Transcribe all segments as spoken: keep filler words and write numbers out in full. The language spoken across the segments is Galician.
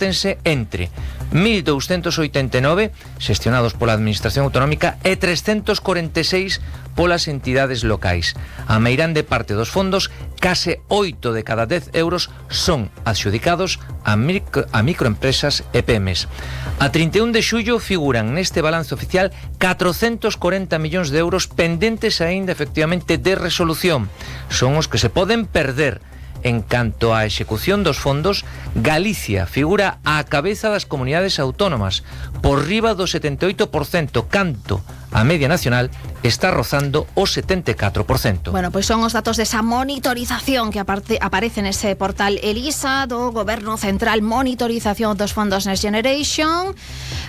repártense entre mil douscentos oitenta e nove xestionados pola Administración Autonómica e trescentos corenta e seis polas entidades locais. A meirande parte dos fondos, case oito de cada dez euros, son adxudicados a, micro, a microempresas e pymes. A trinta e un de xullo figuran neste balance oficial catrocentos corenta millóns de euros pendentes aínda efectivamente de resolución. Son os que se poden perder. En canto á execución dos fondos, Galicia figura á cabeza das comunidades autónomas, por riba do setenta e oito por cento, canto a media nacional está rozando o setenta e catro por cento. Bueno, pois son os datos desa monitorización que aparte, aparece nese portal ELISA do Goberno Central, monitorización dos fondos Next Generation,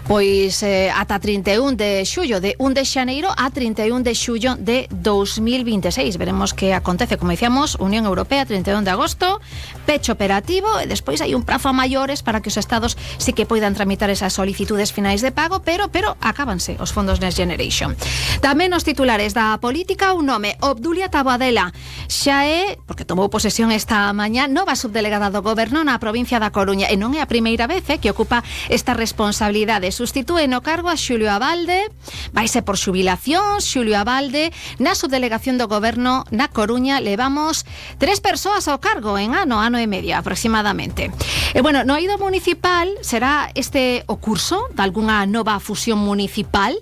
pois eh, ata trinta e un de xullo, de un de xaneiro a trinta e un de xullo de dos mil vinte e seis. Veremos que acontece, como dicíamos, Unión Europea, trinta e un de agosto, pecho operativo, e despois hai un prazo a maiores para que os estados sí que poidan tramitar esas solicitudes finais de pago, pero pero acábanse os fondos Next Generation. Tamén os titulares da política, un nome, Obdulia Taboadela, xa é, porque tomou posesión esta mañá, nova subdelegada do Goberno na provincia da Coruña, e non é a primeira vez eh, que ocupa esta responsabilidade. Sustitúe no cargo a Xulio Abalde, vaise por xubilación, Xulio Abalde, na subdelegación do Goberno na Coruña levamos tres persoas ao cargo en ano, ano e media aproximadamente. E bueno, no eido municipal será este o curso de algunha nova fusión municipal.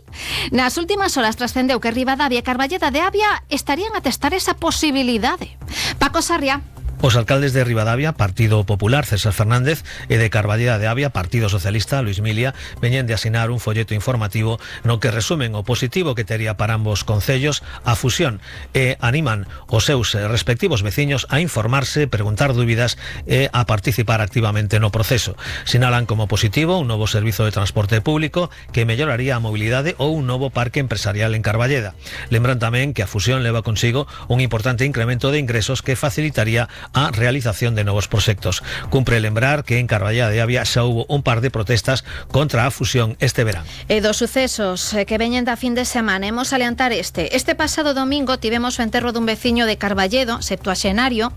Nas últimas horas trascendeu que Ribadavia e Carballeda de Avia estarían a testar esa posibilidade. Paco Sarria. Os alcaldes de Ribadavia, Partido Popular, César Fernández, e de Carballeda de Avia, Partido Socialista, Luis Milia, veñen de asinar un folleto informativo no que resumen o positivo que tería para ambos concellos a fusión e animan os seus respectivos veciños a informarse, preguntar dúbidas e a participar activamente no proceso. Sinalan como positivo un novo servizo de transporte público que melloraría a mobilidade ou un novo parque empresarial en Carballeda. Lembran tamén que a fusión leva consigo un importante incremento de ingresos que facilitaría a realización de novos proxectos. Cumpre lembrar que en Carballeda de Avia xa hubo un par de protestas contra a fusión este verán. E dos sucesos que veñen da fin de semana, hemos aliantar este. Este pasado domingo tivemos o enterro dun veciño de Carballedo, septuaxenario,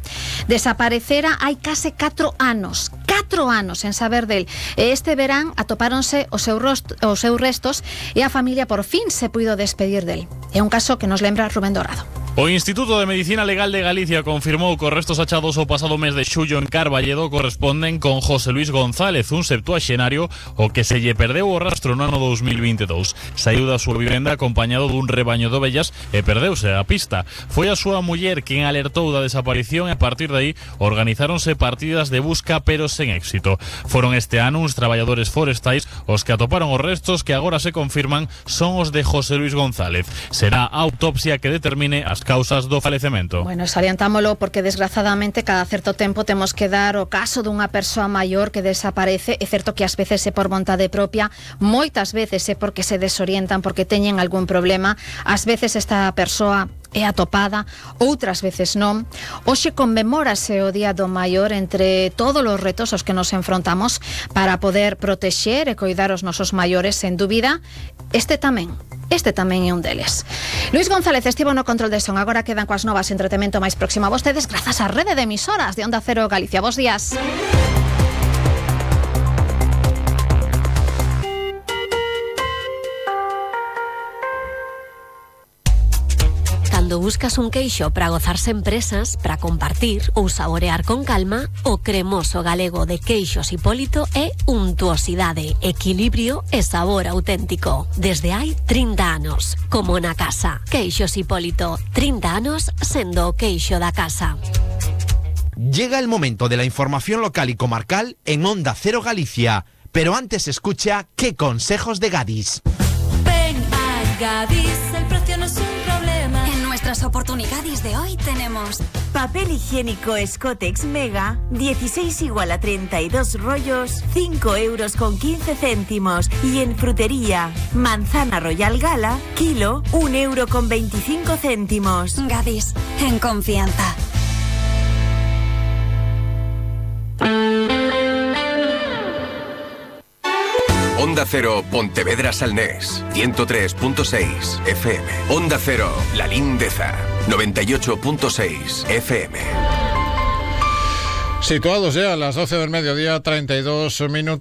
desaparecera hai case catro anos. Catro anos en saber del. E este verán atopáronse os seus, rost, os seus restos e a familia por fin se puido despedir del. É un caso que nos lembra Rubén Dorado. O Instituto de Medicina Legal de Galicia confirmou que os restos achados o pasado mes de xullo en Carballedo corresponden con José Luis González, un septuaxenario o que se lle perdeu o rastro no ano dos mil vinte e dous. Saiu da súa vivenda acompañado dun rebaño de ovellas e perdeuse a pista. Foi a súa muller quen alertou da desaparición e a partir de aí organizáronse partidas de busca pero sen éxito. Foron este ano uns traballadores forestais os que atoparon os restos que agora se confirman son os de José Luis González. Será a autopsia que determine as causas do falecemento. Bueno, salientámolo porque desgraciadamente cada certo tempo temos que dar o caso dunha persoa maior que desaparece. É certo que ás veces é por vontade propia, moitas veces é porque se desorientan, porque teñen algún problema, ás veces esta persoa é atopada, outras veces non. Hoxe conmemórase o Día do Maior, entre todos os retos aos que nos enfrontamos para poder protexer e coidar os nosos maiores, sen dúbida, este tamén. Este tamén é un deles. Luis González estivo no control de son. Agora quedan coas novas entretemento máis próximo a vostedes grazas á rede de emisoras de Onda Cero Galicia. Bos días. Cando buscas un queixo para gozarse en presas, para compartir ou saborear con calma, o cremoso galego de Queixos Hipólito é untuosidade, equilibrio e sabor auténtico. Desde hai trinta anos, como na casa. Queixos Hipólito, trinta anos sendo o queixo da casa. Llega el momento de la información local y comarcal en Onda Cero Galicia, pero antes escucha ¿Qué consejos de Gadis? Ven a Gadis, el precio no es un problema. En nuestras oportunidades de hoy tenemos papel higiénico Scotex Mega, dieciséis igual a treinta y dos rollos, cinco euros con quince céntimos. Y en frutería, manzana Royal Gala, kilo, un euro con veinticinco céntimos. Gadis, en confianza. Onda Cero, Pontevedra Salnés, ciento tres punto seis F M. Onda Cero, La Lindeza, noventa y ocho punto seis F M. Situados ya a las doce del mediodía, treinta y dos minutos.